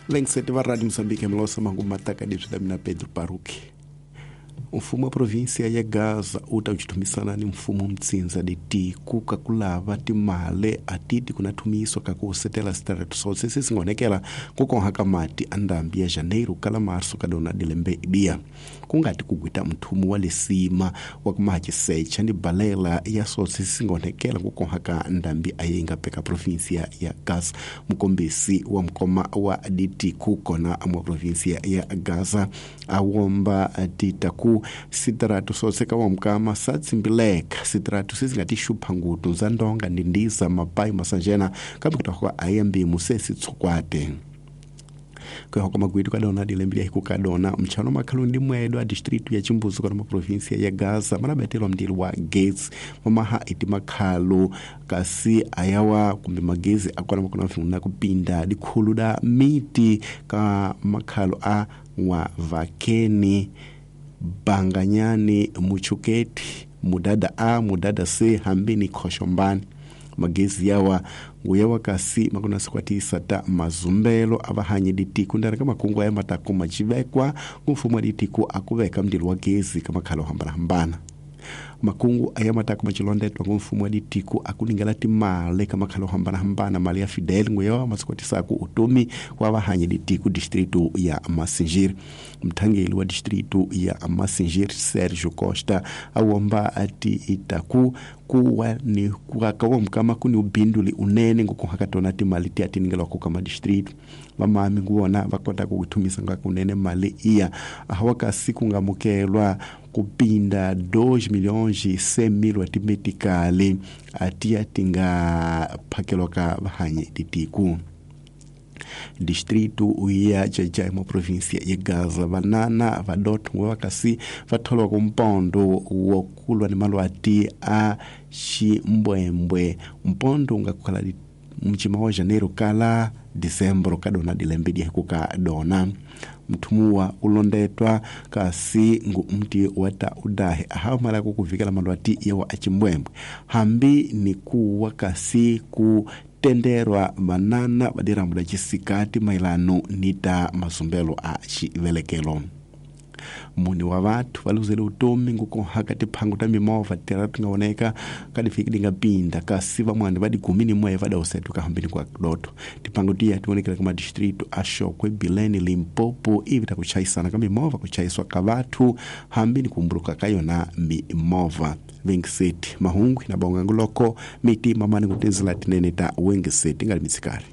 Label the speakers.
Speaker 1: Vengiseti va Radio Moçambique mlosa mangu mataka dibzi da mina Pedro Paruki. Mfumo wa província ya Gaza u ta kuchithumisana ni mfumo mtsinza de tiku kakulava timale atiti kuna thumiso kakusetela sitarato sose sesingonekela kukonha ka mati a ndambi ya janeiro kala março kadona dilembe ibiya kungati kugwita mthumu wa lesima wa kumaha cisecha ni balela ya sose sesingonekela kukonha ka ndambi aye peka província ya Gaza. Mukombisi wa mukoma wa ditiku kona mwa província ya Gaza awomba titaku sitaratu soseka wa mukama satsimbileka sitaratu sesingatixupha ngutu za ndonga ndi ndiza mapayi masanjena kambe kutahuka ayambimu sesitsukwate kuyahoka magwitu kadona dilembe lya kadona mtchano makhalu ndi mwedo a distritu ya chimbuzo kana ma província ya Gaza manabetelwa mndili wa Gates mamaha iti makhalu kasi ayawa kumbe magezi akona makona mfunguna kupinda dikhulu da miti ka makhalu a Nwavakeni, Banganyani, Muchuketi, Mudada A, Mudada C, hambini Khoshombani. Magezi yawa nguyawa kasi makona sikwatisa ta mazumbelo avahanyi ditiku ndara ka makungu aya mataku macivekwa kumfumo wa ditiku akuveka mndilo wa gezi ka makhalo hambanahambana. Makungu aya mataku macilondetwa ngumfumo wa ditiku akuningela timale ka makhalo hambanahambana mali ya Fidel nguyawa masikwatisaku utumi wa vahanyi ditiku distritu ya Massingir. Mthangeli wa distritu ya Massingir Sergio Costa awomba ati itaku kuwa ni kuakawa mkama kuni ubinduli unene ngukuhakatona timali ti atiningela kukama distritu vamami nguwona vakota kukuthumisa ngakunene mali iya ahawakasi kungamukelwa kupinda 2 milhões e 100 mil atimetikali atiya tingaphakelwa ka vahanyi titiku. Distrito ya Jajai mwa província ya Gaza vanana vadotho vakasi vatholwa kumpondo wokulwa ni malwati a ximbwembwe mpondo ungakukhala mcima wa janeiro kala dezembro kadona dilembe diakuka dona mthumuwa ulondetwa kasi ngu mti wata udahe ahamala kukuvikela malwati yawa achimbwembwe hambi ni kuwa kasi ku tenderwa vanana vadirambo la cisikati mailano nita mazumbelo a xivelekelo. Muni wa vathu va luzele utomi ngukuhaka tiphangu ta mimovha tira tingaoneka kadifiki dingapinda kasi vamwani va digumi ni moya vadausetu kahambini kwa doto tiphangu tiya tionekela ka madistritu a Xokwe, Bilene, Limpopo ivi ta kuchayisana ka mimovha kuchayiswa ka vathu hambi ni kumbuluka ka yona mimovha. Vengiseti mahungu na bonga nguloko miti mamani kutenzela tinene ta Wengiseti ngali mitsikari.